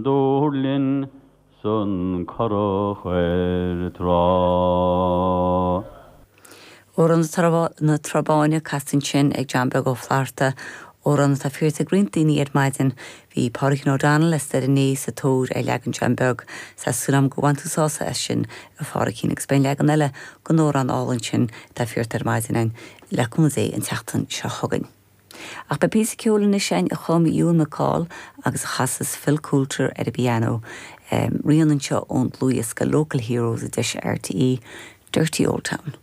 Dúrlinn 's an curach ar trá. Amhrán na Trá Báine casta ansin ag John Beag Ó Flatharta, amhrán atá fiarta ag roinnt daoine ar maidin. Bhí Pádraigín O'Donnell as Doire Né sa tóir ar leagan John Beag. Tá súil agam gur bhain tú sásamh as sin, a Phádraigín, agus beidh an leagan eile den amhrán álainn sin atá fiarta ar maidin againn, le cúnamh Dé, an tseachtain seo chugainn. Ach beidh píosa ceoil anois againn a chum Ewan MacColl agus a chasas Phil Coulter ar an bpianó. Rian anseo ón dlúthdhiosca Local Heroes a d'eisigh RTÉ, Dirty Old Town.